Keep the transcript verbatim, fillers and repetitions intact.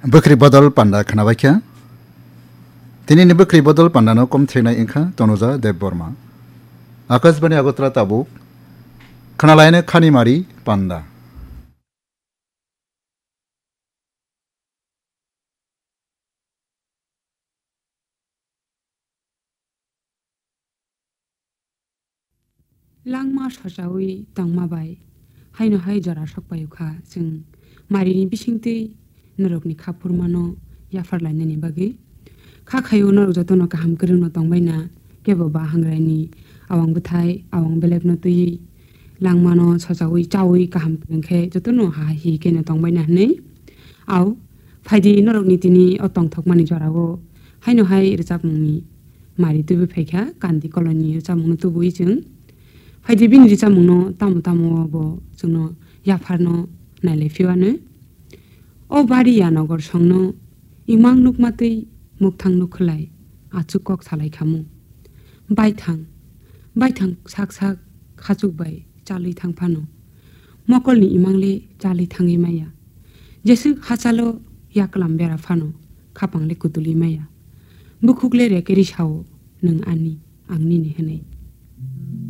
Bwkhri bodol panda khnabaikha. Tinini bwkhri bodol pandano komtheknai wngkha Tonuja Debbarma. Akashbani Agartala tabuk. Khnalaino Khanimari panda. Langma sochaui tongma bai haino hai jora sok paio kha chwng marini bisingtwi norokni kha phurmano yaphar lainani bagwi. Kha khaio norok jotono kaham kwrwngno tongbaina, kebo ba hangraini awang bwthai, awang belekno twiwi langmano sochaui chaui kaham kwrwng khe jotono ha hi kheno tongbaina hwnwi. Au, phaidi norokni tini o tongthokmani jorao haino hai rwchapmungni mari tubui phaikha, Kandi Koloni rwchapmungno tubui chwng. Phaidi bini rwchapmungno tamo tamo bo chwngno yapharno nailai phiwano. O bari ya nogor songno imang nukmatwi mukthang nukhwlai achuk kok salai khamu. Baithang, baithang sak sak khachuk bai chalwi thang phano. Mokolni imangle chalwi thangwi maya. Jeswk hachalo yaklam bera phano khapang le kutulwi maya. Bukhuk le reke ri sao, "Nwng ani, ang nini," hwnwi.